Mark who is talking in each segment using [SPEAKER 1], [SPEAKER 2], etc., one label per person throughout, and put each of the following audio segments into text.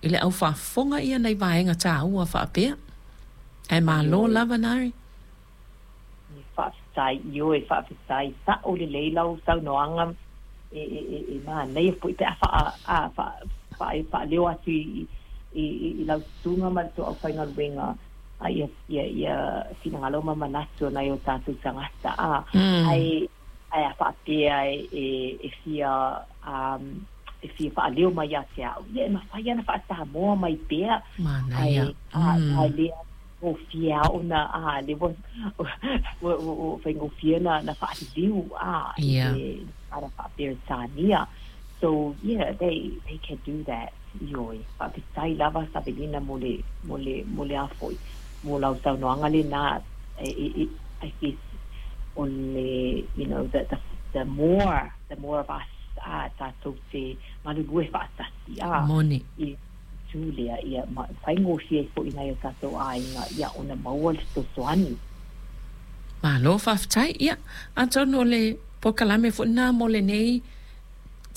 [SPEAKER 1] i le au faafofoga ia nai vaega taua faapea. Ae malo lava Nari.
[SPEAKER 2] Faafetai, ioe, faafetai. Sa'o lelei lau saunoaga e e e e manaia foi pe a faa a faa faa faaleo atu i i i lau susuga ma le tou aufaigaluega a ia ia ia finagalo ma manatu o nai o tatou tagata a ae ae a faapea e e e fia um e fia faaleo mai ia te a'u, ia e mafai lava ona faa-Samoa mai pea.
[SPEAKER 1] Manaia.
[SPEAKER 2] Ae, a, a le gofie lava ona, a, lea ua, ua, ua, ua faigofie ona, ona faaliliu, a, i le tala faa-Peretania. So, yeah, they, they can do that. Ioe. Faafetai lava Savelina mo le, mo le, mo le a foi, mo lau saunoaga lena, e, e, e, I guess, o le, you know, the, the, the more, the more of us, a, tatou te galulue faatasi, a,
[SPEAKER 1] Moni.
[SPEAKER 2] i itu lea, ia, ma faigofie ai foi i nai o tatou aiga, ia, ona maua le fesoasoani.
[SPEAKER 1] Malo faafetai. Ia, atonu o le polokalame foi lena mo lenei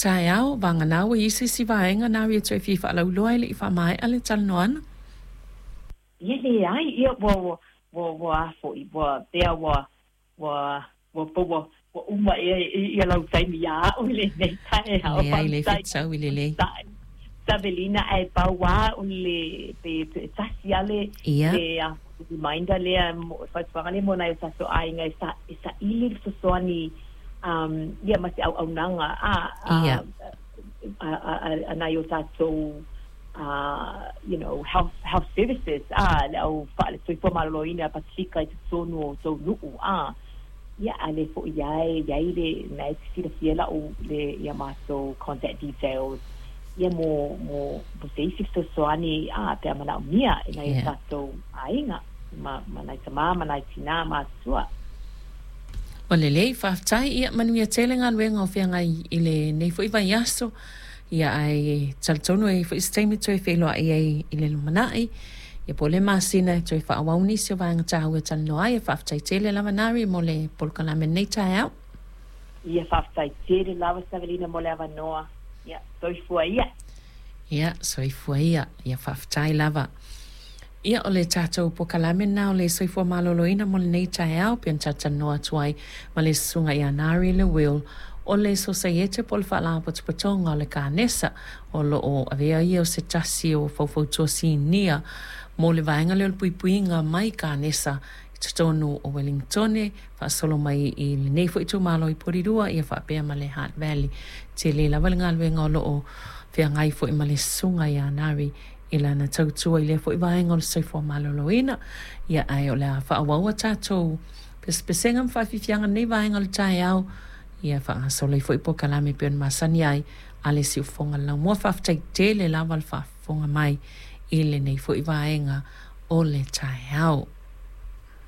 [SPEAKER 1] taeao, vagana ua i ai se isi vaega na e toe fia faalauiloa ae le i faamaea le talanoaga.
[SPEAKER 2] Ia leai, ia ua, ua, ua, ua a foi, ua pea ua, ua, ua, ua, ua uma ea ia lau taimi iā a'u i lenei taeao.
[SPEAKER 1] Leai, le fetau i lelei.
[SPEAKER 2] Savelina, ae pau lava o le, pe e tasi lava le, le a foi, reminder lea, fautuaga lea mo nai o tatou aiga e sa, e saili le fesoasoani um, ia ma se auaunaga a, a, a, a, a, a nai o tatou you know, health, health services, a, le au faa, le soifua maloloina Pasefika i totonu o tou nuu, a, ia, a lea foi lava e i ai le, na e te silafia lau, le, ia matou contact details, ia mo, mo, mo se isi fesoasoani, a, pe a manaomia e nai o tatou aiga, ma, ma nai tamā ma nai tinā matutua.
[SPEAKER 1] Ua lelei, faafetai. Ia, manuia tele galuega o feagai i lenei foi vaiaso. Ia, ae talitonu e i ai foi se taimi toe feiloai ai i le lumanai. Ia, po o le masina e toe faaauau nisi o vaega taua e talanoa ai. Faafetai tele lava Nari mo le polokalame i lenei taeao.
[SPEAKER 2] Ia, faafetai tele lava Savelina mo le avanoa. Ia, soifua ia.
[SPEAKER 1] Ia, soifua ia. Ia, faafetai lava. Ia, o le tatou polokalame lena o le Soifua Maloloina mo lenei taeao, pei ona talatalanoa atu ai ma le Susuga ia Nari Lewil o le Sosaiete po o le Faalapotopotoga o le Kanesa, o lo o avea ia o se tasi o faufautua sinia mo le vaega lea o le puipuiga mai kanesa i totonu o Ueligitone, faasolo mai i lenei foi itumalo i Porirua ia faapea ma le Hutt Valley. Tele lava le galuega o lo o feagai foi ma le Susuga ia Nari i lana tautua i lea foi vaega o le soifua maloloina. Ia, ae o le a faaauau a tatou pesepesega ma faafiafiaga i lenei vaega o le taeao, ia faagasolo ai foi polokalame e pei ona masani ai a le siufofoga o le laumua. Faafetai tele lava le faafofoga mai i lenei foi vaega o le taeao.